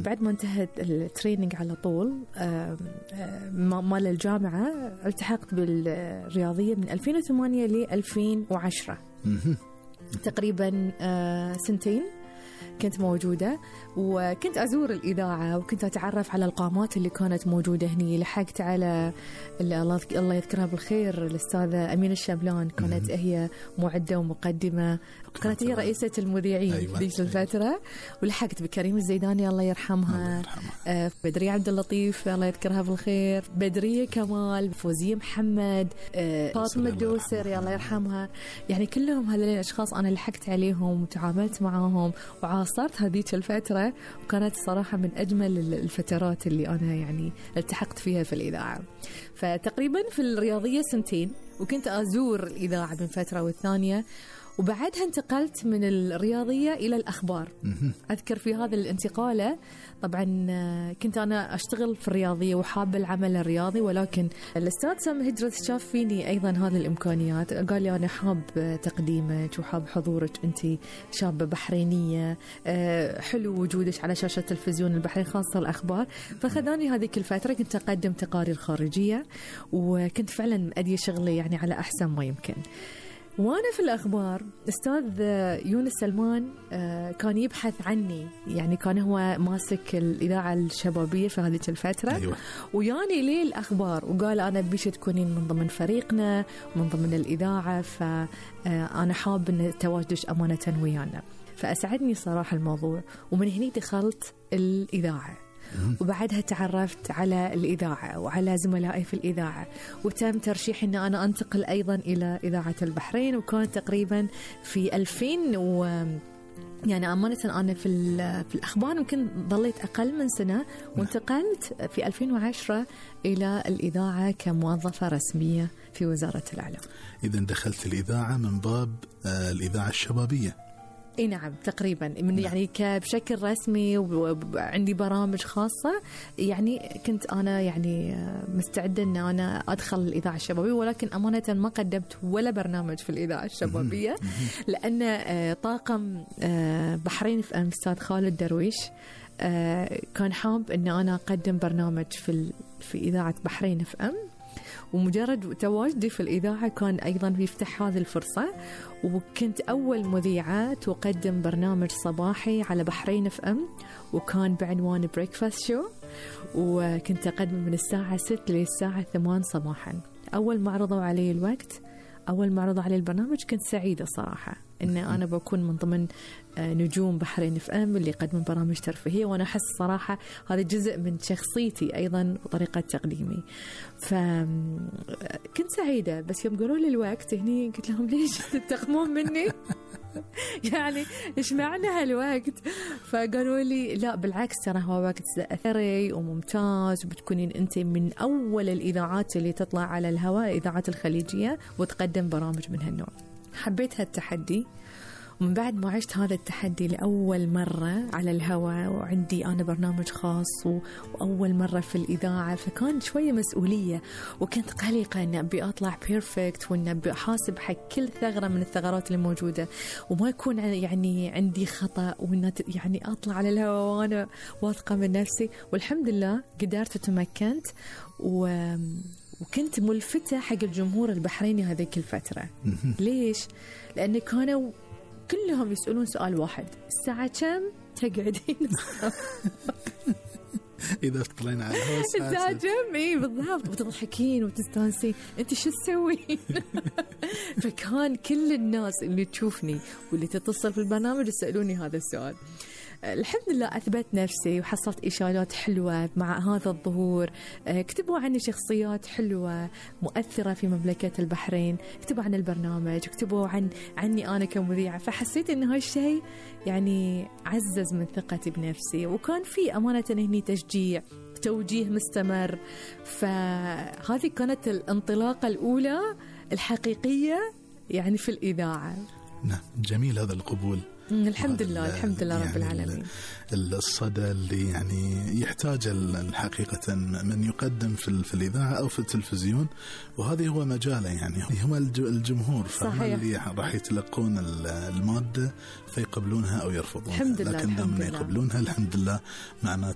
بعد ما انتهت التريننج على طول مال الجامعة التحقت بالرياضية من 2008 ل 2010 تقريبا سنتين كنت موجودة، وكنت أزور الإذاعة وكنت أتعرف على القامات اللي كانت موجودة هني. لحقت على الله يذكرها بالخير الأستاذة أمينة الشابلان، كانت هي معدة ومقدمة، كانت هي رئيسة المذيعين في ذيك الفترة. ولحقت بكريم الزيداني الله يرحمها، بدرية عبد اللطيف الله يذكرها بالخير، بدرية كمال، فوزية محمد، فاطمة الدوسري الله يرحمها. يعني كلهم هذول الأشخاص أنا لحقت عليهم وتعاملت معاهم وعاصرت هذيك الفترة، وكانت صراحة من أجمل الفترات اللي أنا يعني التحقت فيها في الإذاعة. فتقريبا في الرياضية سنتين، وكنت أزور الإذاعة من فترة والثانية، وبعدها انتقلت من الرياضية إلى الأخبار. أذكر في هذا الانتقالة طبعا كنت أنا أشتغل في الرياضية وحابة العمل الرياضي، ولكن الأستاذ سامي هجرت شاف فيني أيضا هذه الإمكانيات، قال لي أنا حاب تقديمك وحاب حضورك، أنت شابة بحرينية، حلو وجودك على شاشة تلفزيون البحرين خاصة الأخبار. فخذاني هذيك الفترة كنت أقدم تقارير خارجية، وكنت فعلا أدي شغلي يعني على أحسن ما يمكن. وأنا في الأخبار أستاذ يونس سلمان كان يبحث عني، يعني كان هو ماسك الإذاعة الشبابية في هذه الفترة. أيوة. وياني ليه الأخبار وقال أنا بيش تكونين من ضمن فريقنا ومن ضمن الإذاعة، فأنا حاب أن تواجدش أمانة ويانا. فأسعدني صراحة الموضوع، ومن هنا دخلت الإذاعة، وبعدها تعرفت على الإذاعة وعلى زملائي في الإذاعة، وتم ترشيح أن أنا أنتقل أيضا إلى إذاعة البحرين. وكان تقريبا في 2000 يعني أمانة أنا في الأخبار يمكن ضليت أقل من سنة، وانتقلت في 2010 إلى الإذاعة كموظفة رسمية في وزارة الإعلام. إذن دخلت الإذاعة من باب الإذاعة الشبابية. اي نعم تقريبا من يعني بشكل رسمي، وعندي برامج خاصة. يعني كنت أنا يعني مستعدة أن أنا أدخل الإذاعة الشبابية، ولكن أمانة ما قدمت ولا برنامج في الإذاعة الشبابية، لأن طاقم بحرين في أستاذ خالد درويش كان حاب أن أنا أقدم برنامج في إذاعة بحرين في ومجرد تواجدي في الإذاعة كان أيضا بيفتح هذه الفرصة. وكنت أول مذيعة تقدم برنامج صباحي على بحرين FM، وكان بعنوان بريكفاست شو، وكنت أقدم من الساعة 6 للساعة 8 صباحا. أول ما عرضوا علي الوقت، أول ما عرضوا علي البرنامج، كنت سعيدة صراحة إن أنا بكون من ضمن نجوم بحرين FM اللي يقدمون برامج ترفيهية، وأنا أحس صراحة هذا جزء من شخصيتي أيضا وطريقة تقديمي. فكنت سعيدة، بس يوم قالوا لي الوقت هني قلت لهم ليش تنتقمون مني؟ يعني إيش معنى هالوقت؟ فقالوا لي لا بالعكس، ترى هو وقت أثري وممتاز، وبتكونين أنت من أول الإذاعات اللي تطلع على الهواء، الإذاعات الخليجية، وتقدم برامج من هالنوع. حبيت هالتحدي، ومن بعد ما عشت هذا التحدي لأول مرة على الهواء، وعندي أنا برنامج خاص وأول مرة في الإذاعة، فكان شوية مسؤولية، وكنت قلقة أن أبي أطلع بيرفكت، وأن أبي أحاسب حق كل ثغرة من الثغرات اللي موجودة، وما يكون يعني عندي خطأ، وأن يعني أطلع على الهواء وأنا واثقة من نفسي. والحمد لله قدرت وتمكنت، وكنت ملفتة حق الجمهور البحريني هذيك الفترة. ليش؟ لأن كانوا كلهم يسألون سؤال واحد: الساعة كم تقعدين؟ إذا تطلعين على الهواء الساعة كم؟ إيه بالضبط، وتضحكين وتستانسين، أنت شو تسوين؟ فكان كل الناس اللي تشوفني واللي تتصل في البرنامج يسألوني هذا السؤال. الحمد لله أثبت نفسي وحصلت إشارات حلوة مع هذا الظهور. كتبوا عني شخصيات حلوة مؤثرة في مملكة البحرين، كتبوا عن البرنامج، كتبوا عني أنا كمذيعة. فحسيت إن هاي الشيء يعني عزز من ثقتي بنفسي، وكان في أمانة هني تشجيع، توجيه مستمر. فهذه كانت الانطلاقة الأولى الحقيقية يعني في الإذاعة. نعم جميل هذا القبول. الحمد لله الحمد لله رب العالمين. الصدى اللي يعني يحتاج الحقيقة من يقدم في الإذاعة أو في التلفزيون، وهذا هو مجاله، يعني هم الجمهور، فهم اللي راح يتلقون المادة فيقبلونها أو يرفضونها. الحمد لله لكن لما يقبلونها الحمد لله معناته